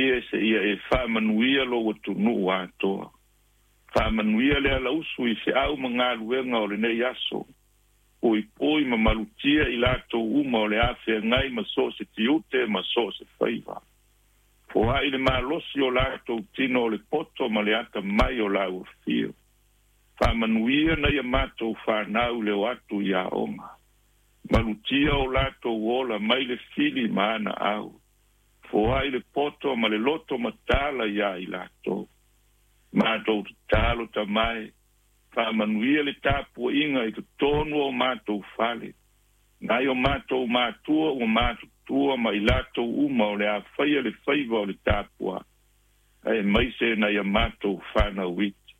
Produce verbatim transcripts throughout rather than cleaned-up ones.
Alii e seia e faamanuia lou atunuu atoa. Faamanuia le alausu i feau ma galuega o lenei aso. Puipui ma malutia i latou uma o le a feagai ma so o se tiute ma so o se faiva. Foai le malosi o latou tino o le poto ma le atamai o lau afio. Faamanuia nai a matou fanau le o atu i aoga. Malutia o latou ola mai le fili ma ana au. Foai le poto ma le loto matala ia i latou. Matou tatalo tamae, faamanuia le tapuaiga i totonu o matou fale. Nai o matou matua ua matutua ma i latou uma o le a faia le faiva o le tapua, aemaise nai a matou fanau iti.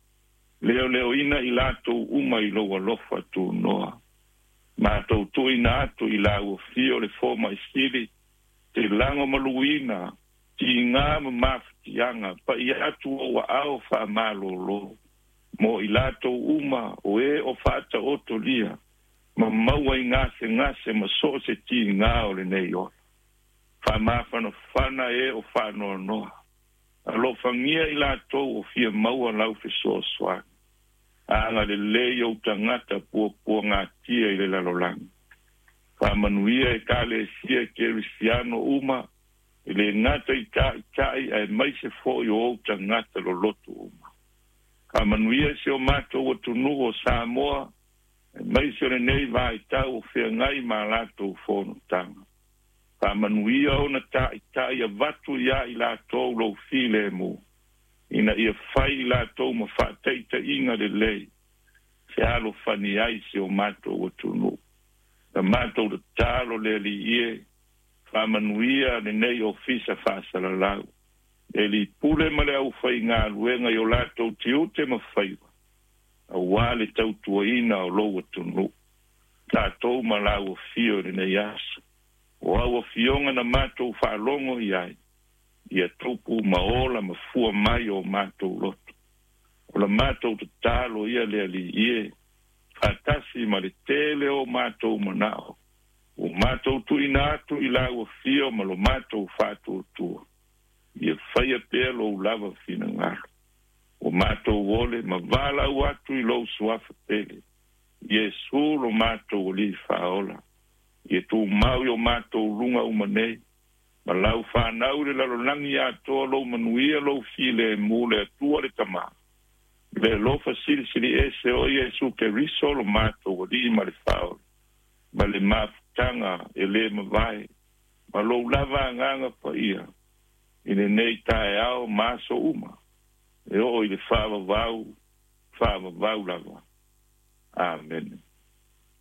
Leoleoina i latou uma i lou alofa tunoa. Matou tuuina atu i lau afio le fomai sili, te lagomaluina, tiga ma mafatiaga, pai atu ou aao faamalōlō. Mo i latou uma o e o faataotolia, ma maua i gasegase ma so o se tiga o lenei ola. Faamafanafana e o faanoanoa. Alofagia i latou o fia maua lau fesoasoani. Agalelei ou tagata puapuagatia i le lalolagi. Faamanuia ekalesia kerisiano uma, e le gata i taitai aemaise foi o ou tagata loloto uma. Faamanuia si o matou atunuu o Samoa, aemaise o lenei vaitau o feagai ma latou fonotaga. Faamanuia ona taitai avatu ia i latou lou filemu, ina ia fai i latou ma faataitaiga lelei, fealofani ai si o matou atunuu. Na matou tatalo le Alii e, faamanuia lenei ofisa faasalalau. Le alii pule ma le aufaigaluega i o latou tiute ma faiva, aua le tautuaina o lou atunuu. Tatou ma lau afio i lenei aso. O au afioga na matou faalogo i ai, ia tupu ma ola ma fua mai o matou loto. O la matou tatalo ia le Alii e, faatasi ma le tele o matou manao. Ua matou tuuina atu i lau afio ma lo matou faatuatua. Ia faia pea lou lava finagalo. Ua matou ole ma valaau atu i lou suafa pele. Iesu lo matou Alii faaola. Ia tumau i o matou luga uma nei. Ma lau fanau i le lalolagi atoa lou manuia lou filemu le Atua le Tama. Le alofa silisili ese o Iesu Keriso lo matou Alii ma le Faaola. Ma le mafutaga e le mavae. Ma lou lava agaga paia. I lenei taeao ma aso uma. E oo i le faavavau, faavavau lava. Amene.